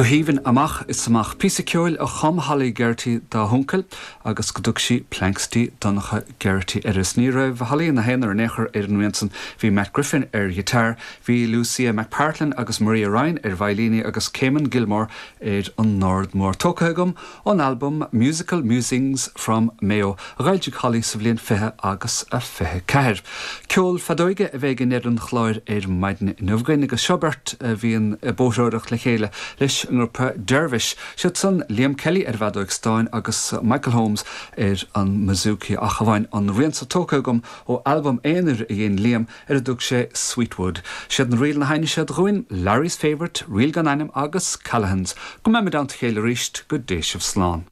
Go haoibhinn amach is amach. Píosa ceoil a chum Holly Geraghty dá huncail agus go dtug sí Planxty Donncha Geraghty air. Is ní raibh Holly ina haonar in aon chor ar an rian san. Bhí Matt Griffin ar ghiotár, bhí Lucia McPartlin agus Maria Ryan ar veidhlíní agus Caimin Gilmore ar an ndord mór. Tógtha agam Ón albam Musical Musings from Mayo a d'fhoilsigh Holly sa bhliain 20 agus a 24. Ceol feadóige a bheidh i ndeireadh an chláir ar maidin inniu againn agus seo beirt a bhíonn ag bóithreoireacht le chéile leis an ngrúpa Dervish. Siad san Liam Kelly ar an bhfeadóig stáin agus Michael Holmes ar an mbouzouki ach amháin an rian so tógtha agam ó albam aonair a dhein Liam ar a dtug sé Sweetwood. Siad na ríleanna a sheinneas siad dhúinn, Larry's Favourite, Ríl gan Ainm agus Callaghan's. Go mbeimid i dteannta a chéile arís, go dté sibh slán.